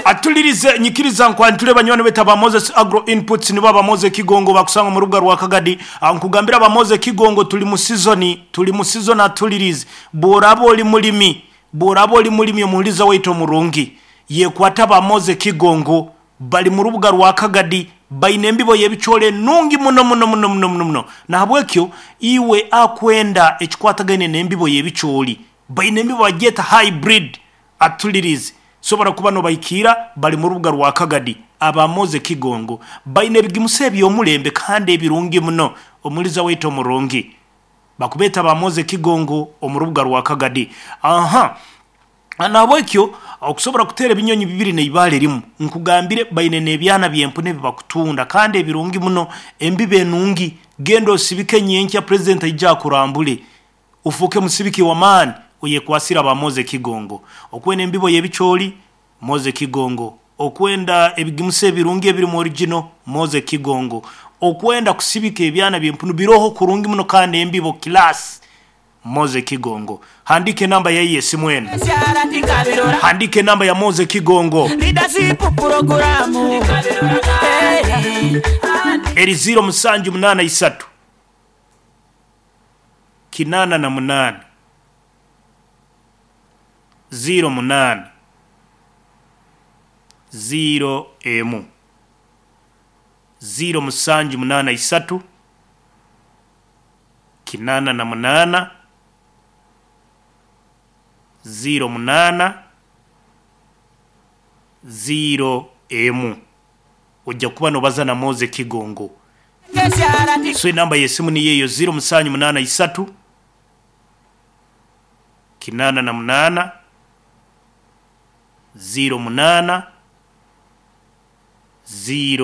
Atulirize nyikiriza nkwanjule banywani baitu aba Moses Agro Inputs, nibo aba Moses Kigongo bakusanga mu rubuga rwa Kagadi. Nkugambira aba Moses Kigongo, tuli mu season, tuli mu season. Atulirize, bworaba oli mulimi, bworaba oli mulimi, omuhuliza waitu omurungi, yekwata aba Moses Kigongo, bali mu rubuga rwa Kagadi, baine embibo y'ebicoole nungi muno muno muno muno muno muno. Nahabwekyo iwe akwenda ekikwatagaine n'embibo y'ebicooli, baine embibo bagyeta hybrid. Atulirize, sobora kuba nobahikiira, bali mu rubuga rwa Kagadi. Aba Moses Kigongo baine ebigimusa eby'omulembe kandi ebirungi muno. Omuliza waitu omurungi, bakubeeta ba Moses Kigongo omu rubuga rwa Kagadi. Aha, nahabwekyo okusobora kuteera ebinyonyi bibiri neibaale rimu, nkugambire baine n'ebyana by'empunu ebi bakutunda kandi ebirungi muno, embibo enungi. Genda osibike, nyenkya president aija akurambule, ofuuke musibiki w'amaani. Oyekwasire aba Moses Kigongo. Okwenda embibo y'ebicooli, Moses Kigongo. Okwenda ebigimusa ebirungi ebirimu original, Moses Kigongo. Okwenda kusibika ebyana by'empunu, biroho kurungi muno kandi embibo class, Moses Kigongo. Handiika enamba yaye y'esimu eno, handiika enamba ya Moses Kigongo. Leadership program. Eri 0783 88 08 0 emu, 0783 88 08 0 emu, ojja kuba nobaza na Moses Kigongo. So enamba y'esimu niyo eyo, 0783 88 08 0.